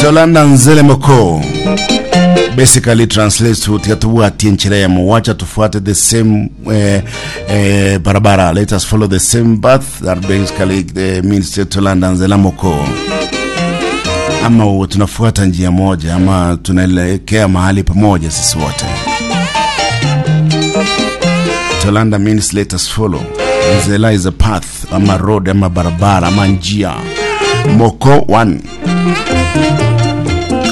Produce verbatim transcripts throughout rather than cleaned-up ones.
Tolanda nzele moko basically translates to tiga tubwatie nchira ya wacha tufuate the same eh, eh, barabara. Let us follow the same path. That basically eh, means tolanda nzela moko, ama tunafuata njia moja ama tunaelekea mahali pamoja sisi wote. Tolanda means let us follow. Nzela is a path, ama road, ama barabara, ama njia. Moko, one.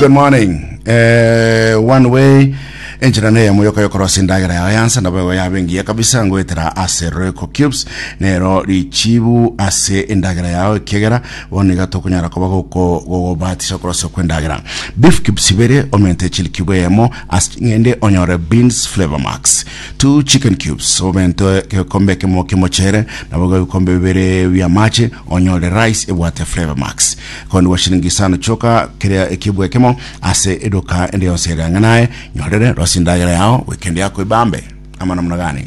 Good morning. Eh, one way enchera neye muyoka yokorosa endagera yawe yansa nabo yabengiya kabisa ngoetera ase Royco Cubes nero richibu ase endagera yawe kegera bono iga tokonyara koba goko gogobatisha okorosa kwa endagera. Beef cubes ibere omente chili cube eyemo ase ng'ende onyore beans flavor max. Two chicken cubes omente gekombe kemo kimochere nabo gekombe bibere bia amache onyore rice ebwate flavor max kondi wa shilingi isano choka keria ekibwe kemo ase eduka ende yonse ere ang'anaye nyorere rosi ndagera yao weekend yako ibambe ama namna gani?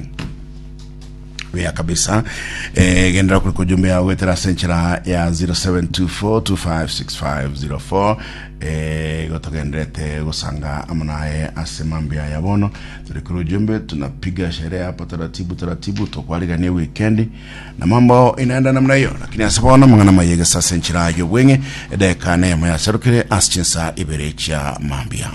Buya kabisa. eh, gendera kuri kujumbe yawe wetera senchera ya zero seven two four two five six five zero four. eh, gotogenderete gusanga amanaye ase mambia ya bono turi kuri ujumbe tunapiga sherehe hapa taratibu taratibu tukwarigania weekend na mambo inaenda namna hiyo, lakini ase bono mang'ana mayege sasa enchera yo bwenge edeka nemo yaserukire ase chinsa ibere chia mambia.